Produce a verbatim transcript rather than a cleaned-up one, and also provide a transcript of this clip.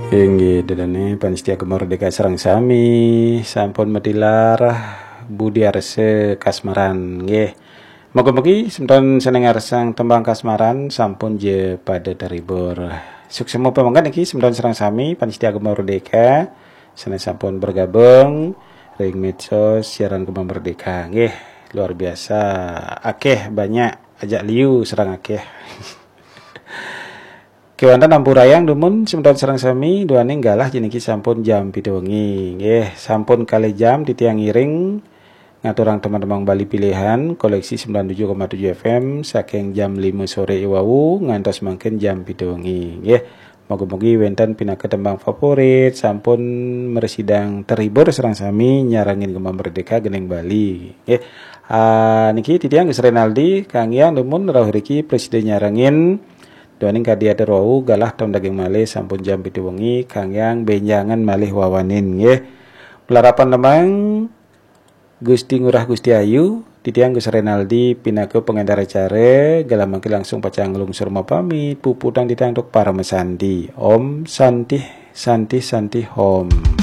Inggih, ida dané pamiarsa Gema Merdeka sareng sami, sampun matilar Budi Arsa Kasmaran, nggih. Mugi-mugi semeton sané ngarsang tembang kasmaran sampun ja pada terhibur. Suksma pamangkat niki semeton sareng sami pamiarsa Gema Merdeka sané sampun bergabung ring medsos siaran Gema Merdeka, nggih. Luar biasa, akéh banyak, ajak liu sareng akéh. Kéwanten ampurayang dumun semeton sareng sami, duaning galah jeniki sampun jam pitu wengi. Nggih, sampun kalih jam titiang ngiring ngaturang tembang-tembang Bali pilihan koleksi sembilan tujuh koma tujuh F M saking jam lima sore iwau ngantos mangkin jam pitu wengi. Nggih, mugi-mugi wénten pinaka tembang favorit, sampun mrasidang terhibur sareng sami nyarengin Gema Merdeka Gending Bali. Nggih. Ah, niki titiang Gus Renaldi, kanggéang dumun rauh riki prasida nyarengin. Duaning kadi atur wau galah tembang daging malih sampun jam pitu wengi, kanggéang bénjangan malih wawanin nggih. Malarapan tembang Gusti Ngurah Gusti Ayu, titiang Gus Renaldi pinaka pangénter acara, galah mangkin langsung pacang nglungsur mapamit, puputang titiang antuk parama santi. Om Santih, Santih, Santih Om.